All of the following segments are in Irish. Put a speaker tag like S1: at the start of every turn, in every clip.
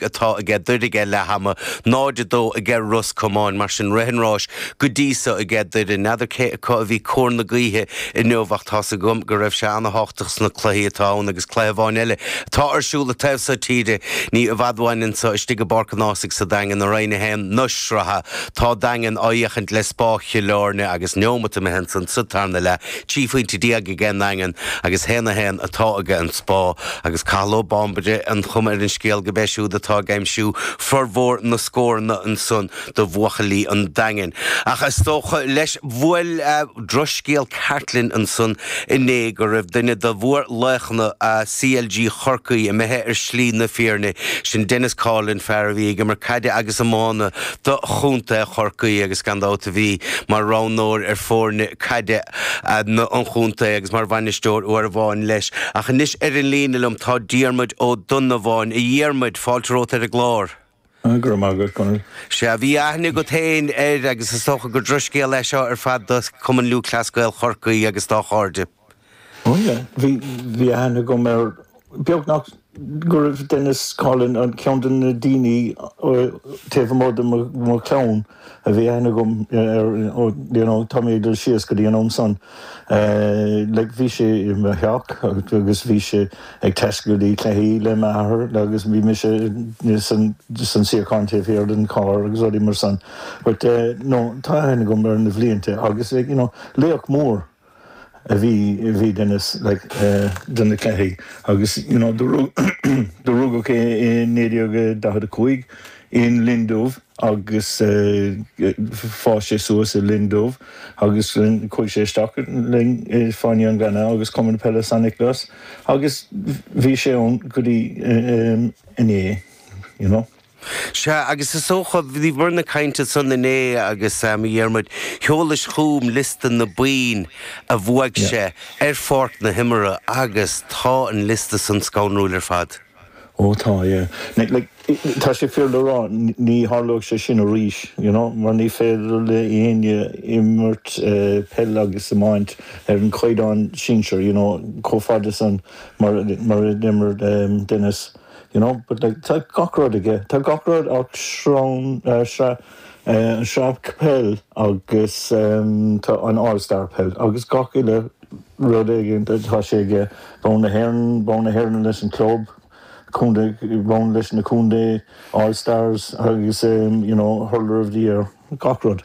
S1: atá aige Doire ag leath ama, 0-2 aige Ros Comáin. Mar sin, rith an ráis go dtí so aige Doire. N'fheadar cé acu a bhí cóir na gaoithe inniu ach tá's agam go raibh sé ana-thábhachtach sna cluichí atá ann agus cluiche amháin eile atá ar siúl an taobh so tíre ní i bhfad uainn anso istigh i bPáirc an Ághasaigh sa Daingean i Roinn 1 na sraithe. Tá Daingean á fhiachaint le Spá Chill Airne agus neomat imithe ansan sa tarna leath. 13 phointe aige an nDaingean agus 1-1 atá aige an Spá agus Cathal Ó Báinbre an chuma ar an scéal gurb é siúd atá ag aimsiú formhór na scóranna ansan do bhuachaillí an Daingin. Ach is dócha leis bhuail drochscéal ceart linn ansan inné go raibh duine de mhórlaochanna CLG Chorcaí imithe ar shlí na fírinne, sin Denis Coughlan, fear a bhí ag imirt caide agus iomána do chontae Chorcaí agus gan dabht a bhí mar roghnóir ar foirne caide an chontae agus mar bhainisteoir uair amháin leis. Ach anois ar an líne liom tá Diarmuid Ó Donnabháin. A Dhiarmuid, fáilte romhat ar an gclár.
S2: Go raibh maith agat, Conall.
S1: Sea, bhí aithne agat féin air agus is dócha gur drochscéal é seo ar fad do Chumann Lúthchleas Gael Chorcaí agus dá chairde.
S2: Ó yeah, bhí, bhí aithne agam air beagnach go raibh Denis Coughlan an ceann de na daoine taobh amuigh de mo chlann a bhí aithne agam air, you know, tá mé ag dul síos go dtí an am san. Like bhí sé i mo theach agus bhí sé ag taisteal go dtí cluichí le m'athair agus bhí mise san san suíochán taobh thiar den charr agus rudaí mar san. But no, tá aithne agam air na bhlianta agus you know, laoch mór. a bhí a bhí Denis like do na cluichí agus you know do do rugadh é i 1945 in Linn Dubh agus fás sé suas i Linn Dubh agus chuaigh sé isteach linn i Fáinne an Ghleanna agus Cumann Peile San Nioclás agus bhí sé ann go dtí inné you know.
S1: Sea, agus is dócha, bhíomar ag caint ansan inné agus, a Dhiarmuid, sheolais chugam liosta na boinn a bhuaigh sé ar pháirc na himeartha agus tá an liosta san scanrúil ar fad.
S2: Ó tá, yeah. Like, tá sé fíor le rá, ní tharlóidh sé sin arís, you know, mar ní féidir le éinne imirt peil agus iomáint ar an chaighdeán sinsir, you know, chomh fada san mar mar a d'imir Denis. You know, but like tá gach rud aige, tá gach rud ach sraith, sraith, an sraith peil agus tá an All Star peil agus gach uile rud éigin tá sé aige, bonn na hÉireann, bonn na hÉireann leis an club, contae, bonn leis na contae, All Stars agus you know, Hurler of the Year, gach rud.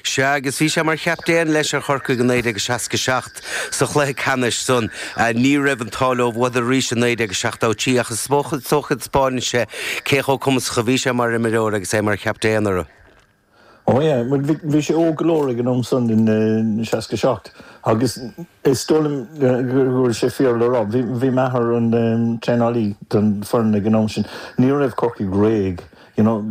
S1: Sea, agus bhí sé mar chaptaen leis ar Chorcaigh i 1967 sa chluiche ceannais san. Ní raibh an t-ádh leo, bhuadar arís i 1973 ach is dócha taispeánann sé cé chomh cumasach a bhí sé mar imreoir agus é mar chaptaen orthu.
S2: Ó yeah, bhuel bhí sé óg go leor ag an am san in 67 agus is dóigh liom go bhfuil sé fíor le rá, bhí m'athair an traenálaí don foireann ag an am sin, ní raibh Corcaigh réidh You know,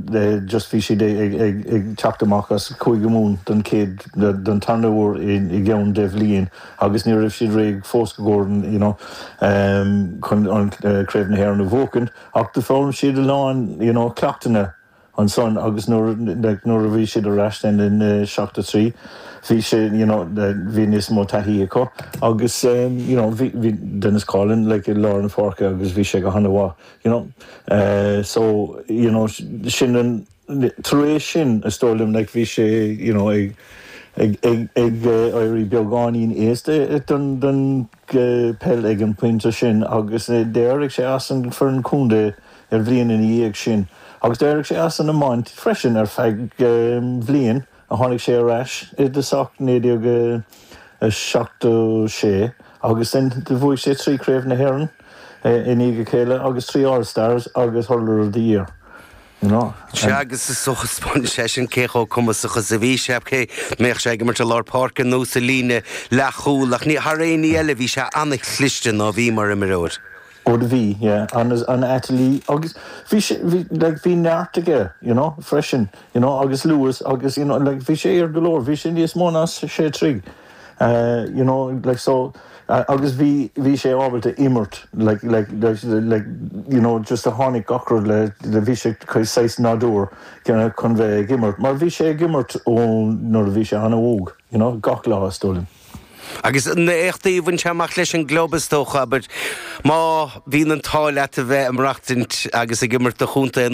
S2: just bhí siad ag teacht amach as Cúige Mumhan don chéad, don tarna huair i gceann 10 bhliain agus ní raibh siad réidh fós go gcomhair, you know, chun an Craobh na hÉireann a bhuachan ach d'fhoghlaim siad a lán, you know, cleachtanna ansan agus nuair, like, nuair a bhí siad ar ais then in 73 bhí sé, you know, bhí níos mó taithí acu agus, you know, bhí, bhí Denis Coughlan, like, i lár na páirce agus bhí sé go han-mhaith. You know so you know sin an tar éis sin is dóigh liom like bhí sé you know ag ag ag ag éirí beagáinín aosta don don peil ag an pointe sin agus d'éirigh sé as an foireann contae ar bhliain ina dhiaidh sin agus d'éirigh sé as an iomáint freisin ar feadh bhliain a tháinig sé ar ais i dtosach 1976 agus then do bhuaigh sé 3 Craobh na hÉireann i ndiaidh a chéile agus 3 All Stars agus Hurler of the Year, you know.
S1: Sea, agus is dócha taispeánann sé sin cé chomh cumasach is a bhí sé, cé mbeadh sé ag imirt i lár páirce nó sa líne leathchúil, ach ní, thar aon ní eile, bhí sé an-chliste ná bhí mar imreoir.
S2: Ó do bhí, yeah, an-ailtirí agus bhí sé, bhí, like, bhí neart aige, you know, freisin, you know, agus luas agus, you know, like, bhí sé ard go leor, bhí sé níos mó ná sé troigh, you know, like, so, agus bhí, bhí sé ábalta imirt, like, like, like, you know, just a tháinig gach rud le, le, bhí sé saghas nádúr, you know, chun bheith ag imirt, mar bhí sé ag imirt ó nuair a bhí sé an-óg, you know, gach lá is dóigh liom.
S1: Agus na éachtaí a bhain sé amach leis an gclub, is dócha, abair, má bhíonn an t-ádh leat a bheith ag maireachtaint agus ag imirt do chontae.